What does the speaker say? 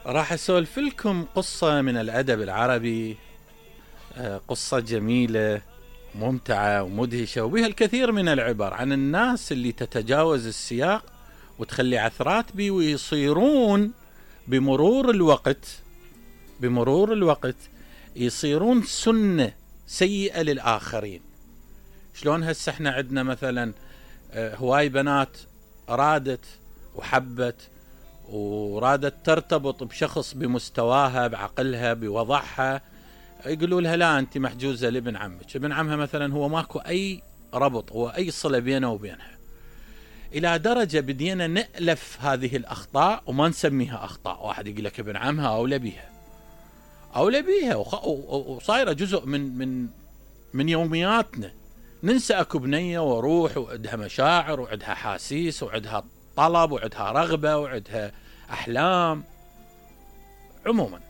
راح اسولف لكم قصة من الادب العربي، قصة جميلة ممتعة ومدهشة وبها الكثير من العبر عن الناس اللي تتجاوز السياق وتخلي عثرات بي، ويصيرون بمرور الوقت يصيرون سنة سيئة للآخرين. شلون هسه احنا عندنا مثلا هواي بنات رادت وحبت ورادت ترتبط بشخص بمستواها بعقلها بوضعها، يقولوا لها لا انت محجوزة لابن عمك. ابن عمها مثلا هو ماكو اي ربط واي صلة بينه وبينها، الى درجة بدينا نألف هذه الاخطاء وما نسميها اخطاء. واحد يقول لك ابن عمها اولى بيها وصايرة جزء من يومياتنا. ننسى اكو بنية وروح وعندها مشاعر وعندها حاسيس وعندها طلب وعندها رغبة وعندها احلام. عموما